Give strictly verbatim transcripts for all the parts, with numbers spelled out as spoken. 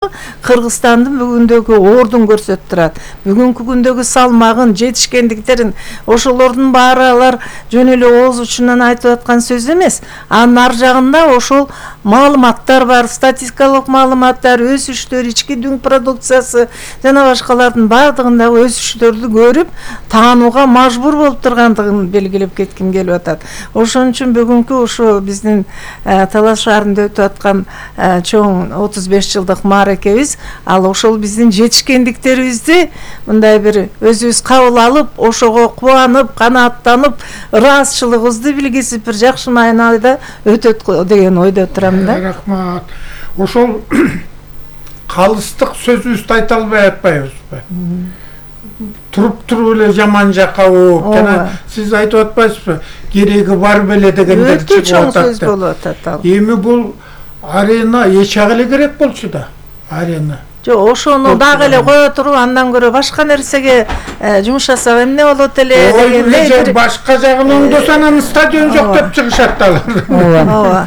Кыргызстандын бүгүндөгү ордун көрсөтүп турат. Бүгүнкү күндөгү салмагын, жетишкендиктерин ошолордун баары алар жөн эле ооз учунан айтып аткан сөз эмес. Анын ар жагында ошол маалыматтар бар, статистикалык маалыматтар, өсүштөр, ички дүң продукциясы жана башкалардын бардыгындагы өсүштөрдү көрүп, таанууга мажбур болуп тургандыгын белгилеп кетким келип атат. Ошон үчүн бүгүнкү ошо биздин Талас шаарында өтүп аткан чоң отуз беш жылдык мааракебиз, ал ошол биздин жетишкендиктерибизди мындай бир өзүбүз кабыл алып, ошого кубанып, канааттанып, ыраазычылыгыбызды билгизип, бир жакшы маанайда өтөт деген ойдо турам да. Рахмат. Ошол калыстык сөзүбүздү айта албай атпайбызбы? Туруп туруп эле жаман жакка ооп, жана сиз айтып атпайсызбы? Кереги бар беле дегендер чыгып атат. Өтө чоң сөз болуп атат ал. Эми бул арена эч жагы эле керек болчу да. Арена. Жок, ошону дагы эле кое туруп, андан көрө башка нерсеге жумшасак эмне болот эле дегендей. Башка жагын оңдосо анан стадион жок деп чыгышат алар. Ооба.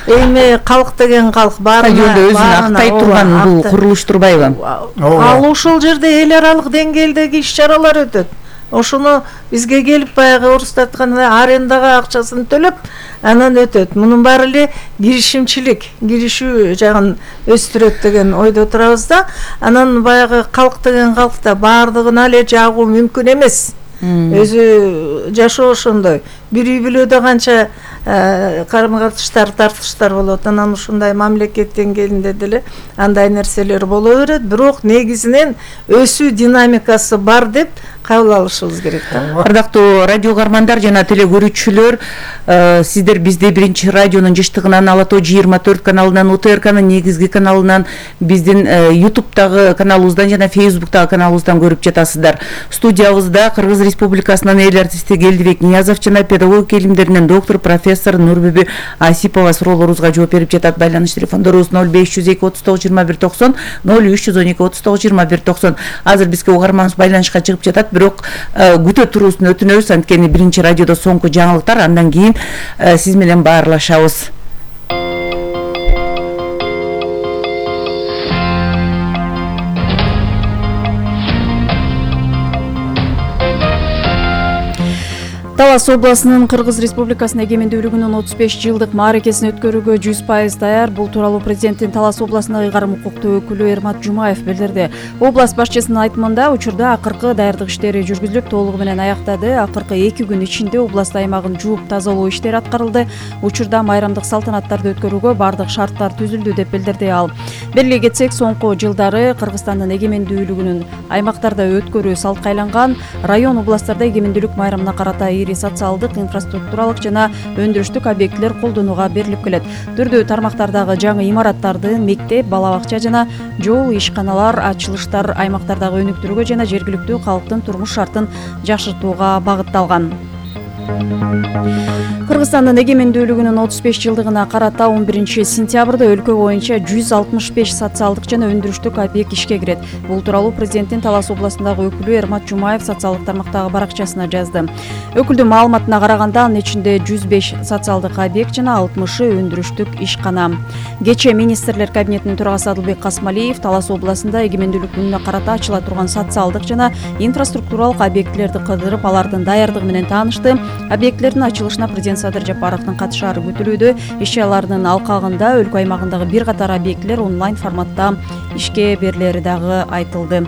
Эми калк деген калк баарына жолдо өзүн актай турган бул курулуш турбайбы? Ал ошол жерде эл аралык деңгээлдеги иш-чаралар өтөт. Ошону бизге келип баягы орусда айткандай арендага акчасын төлөп, анан өтөт. Мунун баары эле киришимчилик, киришүү жагын өстүрөт деген ойдо турабыз да. Анан баягы калк деген калкта баардыгына эле жагуу мүмкүн эмес. Өзү жашоо ошондой. Бир үй бүлөдө канча карым-катыштар, тартыштар болот. Анан ушундай мамлекет деңгээлинде деле андай нерселер боло берет, бирок негизинен өсүү динамикасы бар деп кабыл алышыбыз керек да. Ардактуу радио угармандар жана теле көрүүчүлөр, сиздер бизди биринчи радионун жыштыгынан, Ала тоо жыйырма төрт каналынан, У Т Р К'нын негизги каналынан, биздин ютубтагы каналыбыздан жана фейсбуктагы каналыбыздан көрүп жатасыздар. Студиябызда Кыргыз Республикасынын эл артисти Келдибек Ниязов жана педагогика илимдеринен доктор профессор Нурбүбү Асипова суроолорубузга жооп берип жатат. Байланыш телефондорубуз ноль беш жүз эки отуз тогуз жыйырма бир токсон, ноль үч жүз он эки отуз тогуз жыйырма бир токсон. Азыр бизге угарманыбыз байланышка чыгып жатат, бирок күтө туруусун өтүнөбүз, анткени биринчи радиодо соңку жаңылыктар, андан кийин сиз менен баарлашабыз. Талас областынын Кыргыз Республикасынын эгемендүүлүгүнүн отуз беш жылдык мааракесин өткөрүүгө жүз пайыз даяр. Бул тууралуу президенттин Талас областындагы ыйгарым укуктуу өкүлү Эрмат Жумаев билдирди. Област башчысынын айтымында учурда акыркы даярдык иштери жүргүзүлүп, толугу менен аяктады. Акыркы эки күн ичинде област аймагын жууп тазалоо иштери аткарылды. Учурда майрамдык салтанаттарды өткөрүүгө бардык шарттар түзүлдү деп билдирди ал. Белгилей кетсек, соңку жылдары Кыргызстандын эгемендүүлүгүнүн аймактарда өткөрүү салтка айланган. Район областтарда эгемендүүлүк майрамына карата социалдык, инфраструктуралык жана өндүрүштүк объектилер колдонууга берилип келет. Түрдүү тармактардагы жаңы имараттарды, мектеп, бала бакча жана жол, ишканалар, ачылыштар аймактардагы өнүктүрүүгө жана жергиликтүү калктын турмуш шартын жакшыртууга багытталган. Кыргызстандын эгемендүүлүгүнүн отуз беш жылдыгына карата он биринчи сентябрда өлкө боюнча жүз алтымыш беш социалдык жана өндүрүштүк объект ишке кирет. Бул тууралуу президенттин Талас областындагы өкүлү Эрмат Жумаев социалдык тармактагы баракчасына жазды. Өкүлдүн маалыматына караганда, анын ичинде жүз беш социалдык объект жана алтымышы өндүрүштүк ишкана. Кечээ министрлер кабинетинин төрагасы Адылбек Касмалиев Талас областында эгемендүүлүк күнүнө карата ачыла турган социалдык жана инфраструктуралык объектилерди кыдырып, алардын даярдыгы менен таанышты. Объектилердин ачылышына президент Садыр Жапаровдун катышаары күтүлүүдө. Иш-чаралардын алкагында өлкө аймагындагы бир катар объектилер онлайн форматта ишке берилери дагы айтылды.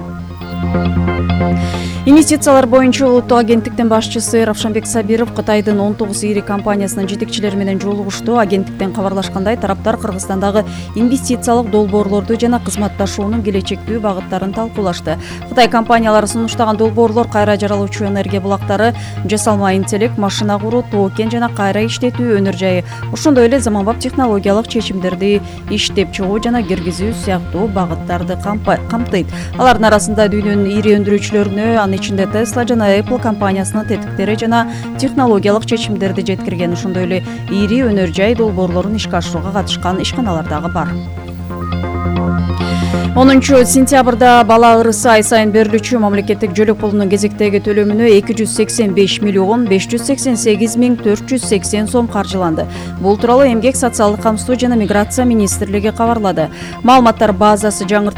Инвестициялар боюнча улуттук агенттиктин башчысы Равшанбек Сабиров Кытайдын он тогуз ири компаниясынын жетекчилери менен жолугушту. Агенттиктен кабарлашкандай, тараптар Кыргызстандагы инвестициялык долбоорлорду жана кызматташуунун келечектүү багыттарын талкуулашты. Кытай компаниялары сунуштаган долбоорлор кайра жаралуучу энергия булактары, жасалма интеллект, машина куруу, токен жана кайра иштетүү өнөр жайы, ошондой эле заманбап технологиялык чечимдерди иштеп чыгуу жана киргизүү сыяктуу багыттарды камтыйт. Алардын арасында дүйнөнүн ири өндүрүүчүлөрүнө, анын ичинде Tesla жана Apple компаниясынын тетиктери жана технологиялык чечимдерди жеткирген, ошондой эле ири өнөр жай долбоорлорун ишке ашырууга катышкан ишканалар дагы бар. онунчу сентябрда бала ырысы ай сайын берилүүчү мамлекеттик жөлөк пулунун кезектеги төлөмүнө эки жүз сексен беш миллион беш жүз сексен сегиз миң төрт жүз сексен сом каржыланды. Бул тууралуу Эмгек социалдык камсыздоо жана миграция министрлиги кабарлады. Маалыматтар базасы жаңыртылды.